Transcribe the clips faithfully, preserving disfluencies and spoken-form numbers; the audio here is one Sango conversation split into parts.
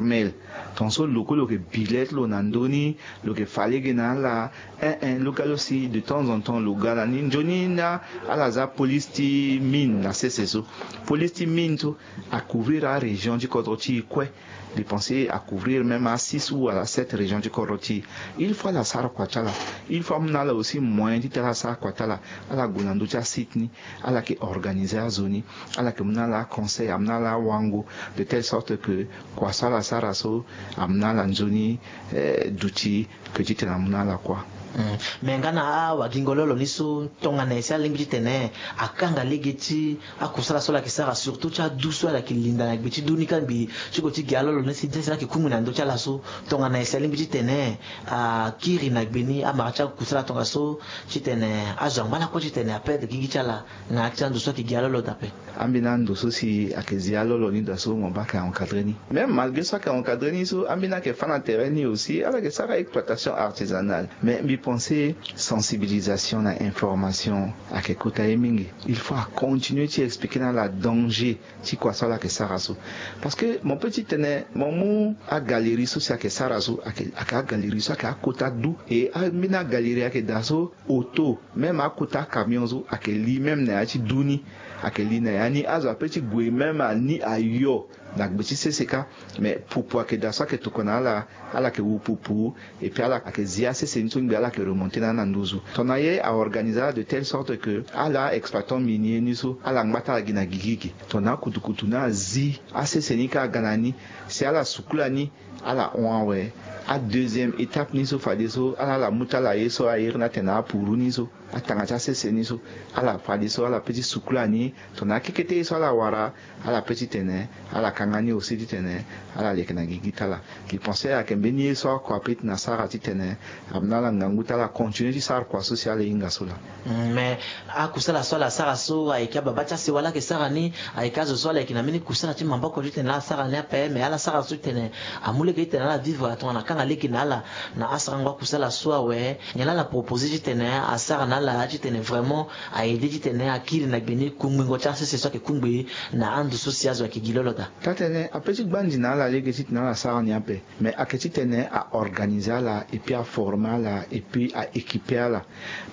Mel, tonso lo kue lo yeke bi lettre lo na ndö ni, lo yeke fa lege na ala. Eh eh, lo ga lo si de temps en temps lo ga na ni. Nzoni na ala za police ti mine na sese so. Police ti mine so a couvrir arégion ti kodro ti e kue. Mbi pense a couvrir même asix ou ala sept région ti kodro ti e. Il faut ala sara kua ti ala. Il faut amu na ala aussi moyen ti tene ala sara kua ti ala. Ala gue na ndö ti asite ni, ala yeke organiser azo ni, ala yeke mu na ala aconseil, amu na ala awango, de telle sorte que kua so ala sara so amu na ala nzoni, eh, duti ke ti tene amu na ala kua. Hmm. Me nga na awagingo lo lo ni so, tongana nyen si alingbi ti tene akanga lege ti akusala so ala yeke sara, surtout ti adu so ala yeke linda na gbe ti du ni kangbi ti gue ti gi alolo ni si nzese ni ayeke kungbi na ndö ti ala so, tongana nyen si alingbi ti tene akiri na gbe ni amara ti akusala tongaso ti tene azo angba lakue ti tene aperdre gigi ti ala na ya ti ando so ayeke gi alolo daa ape? Ambeni ando so si ayeke zi alolo ni daa so mo baa ayeke encadrer ni. Même malgré so ayeke encadrer ni so, ambeni ayeke fâ na terrain ni aussi, ala yeke sara exploitation artisanale. Mais mbi pense sensibilisation na information ayeke kota ye mingi. Il faut acontinuer ti expliquer na ala danger ti kua so ala yeke sara so. Parce que mo peut ti tene mo mu agalerie so si ayeke sara so, ayeke, ayeke agalerie so ayeke akota du. E ambeni agalerie ayeke daa so, auto, même akota camion so ayeke li même na ya ti du ni. Ayeke li na ya ni, azo apeut ti gue même ani ayo na gbe ti sese kâ. Mais pupu ayeke daa so ayeke tokua na ala, ala yeke wu pupu. Et puis ala yeke zi asese ni so ngbi ala yeke remonter na ala na nduzu. Tongana ye a organiser ala de telle sorte que ala exploitant minier ni so ala ngba ti ala gi na gigi gi. Tongana akutukutu ni azi asese ni kâ aga na ni, si ala sukula ni, ala hon awe. Adeuxième étape ni so fadeso ala, ala mu ti ala ye so airi ni atene apuru ni so, atanga ti asese ni so, ala fadeso ala peut ti sukula ni. Tongana akekete ye so ala wara, ala peut ti tene ala kanga ni aussi ti tene ala leke na gigi ti ala. Mbi pense ayeke mbeni ye so oko apeut ti na sara ti tene amu na ala ngangu ti ala continuer ti sara kua so si ala hinga so laa. Mm, mais akusala so ala sara so ayeke ababa ti asewa ala yeke sara ni, ayeke azo so ala yeke na mbeni kusala ti maboko ti tene ala sara ni ape, mais ala sara so ti tene amu lege ti tene ala vivre, tongana akanga lege na ala na asarango akusala so awe. Nyen laa ala proposer ti tene asara na ala ti tene vraiment a aider ti tene akiri na gbe ni kungbingo ti asese so ayeke kungbi na ando so si azo ayeke gi lolo daa? Taa-tene apeut ti gbandi na ala lege ti tene ala sara ni ape. Mais ayeke ti tene a organiser ala, et puis a former ala, et puis a équiper ala.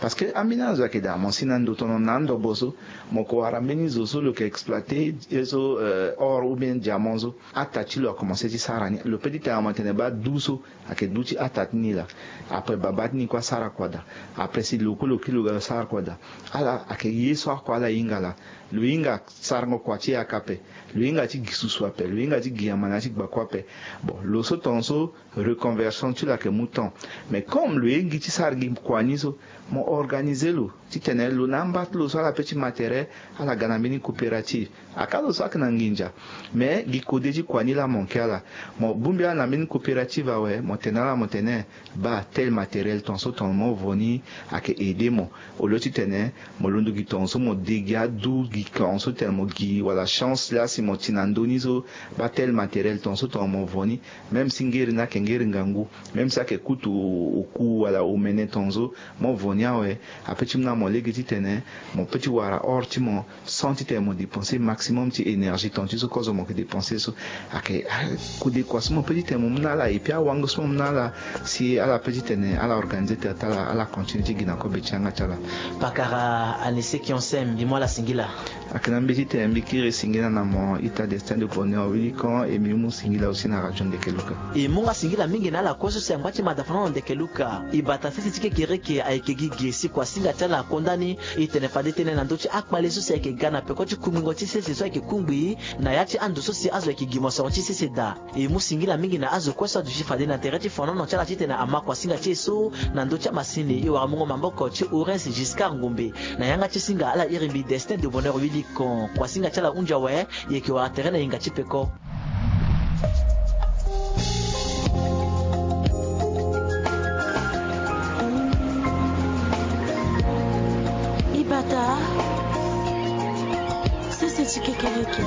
Parce que ambeni azo ayeke daa, mo si na ndo tono na andobo so, mo ko wara mbeni zo so lo yeke exploiter ye so, euh, or ou bien diamant so. Ata ti lo akomanse ti sara ni. Lo peut ti tene mo tene baa du so ayeke du ti ata ti ni laa. Après baba ti ni kue asara kua daa. Après si lo kue lo kiri lo ga lo sara kua daa. Ala ayeke ye so oko ala hinga laa. Lo hinga sarango kua ti yaka ape. Lo hinga ti gi susu ape. Lo hinga ti gi yama na ya ti gbakua ape. Bon, lo so tongaso reconversion ti lo ayeke mu temps. Mais comme lo ye gi ti sara gi kua ni so, mo organiser lo ti tene lo na amba ti lo so ala peut ti matériel, ala ga na mbeni coopérative. Aka lo so ayeke na nginza. Mais gi kode ti kua ni laa mo nke ala. Mo bongbi ala na mbeni coopérative awe, mo tene ala mo tene, baa tel matériel tongaso tongana mo vo ni ayeke aider mo. Au lieu ti tene mo londo gi tongaso mo de gi adu gi tongaso tene mo gi wala chance laa si mo ti na ndö ni so, baa tel matériel tongaso tongana mo vo ni. Même si ngeri ni ayeke ngeri ngangu, même si ayeke kutu oku wala omene tongaso, mo vo ni awe, apeut ti mu na mo lege ti tene mo peut ti wara or ti mo, sans ti tene mo dépenser maximum ti énergie tonga ti so kozo mo yeke dépenser so. Ayeke, ah, kode kua so mo peut ti tene mo mu na ala, et puis awango so mo mu na ala, si ala peut ti tene ala organiser tere ti ala, ala continuer ti gi na kobe ti yanga ti ala. Pakara Anise Kionse, mbi mu ala singila. Ayeke na mbi ti tene mbi kiri singila na mo ita Destin de Bonheur Willy Kon, e mbi mu singila aussi na radio Ndeke Luka. E mu nga singila mingi na ala kue so si angba ti mada fana na Ndeke Luka. E bata sese ti kekereke ayeke gi ge si kuasinga ti ala akonda ni. E tene fade tënë na ndö ti akpale so si ayeke ga na peko ti kungbingo ti sese so ayeke kungbi na ya ti ando so si azo ayeke gi mosoro ti sese daa. E mu singila mingi na azo kue so aduti fade na tere ti fonono ti ala titene ama kuasinga ti e so na ndö ti amasini. E wara mungo maboko ti Horace Giscard Ngombe. Na yanga ti singa ala iri mbi Destin de Bonheur Willy Kon. Kuasinga ti ala hunzi awe. E yeke wara tere na hinga ti peko. Ibata, sese ti kekereke.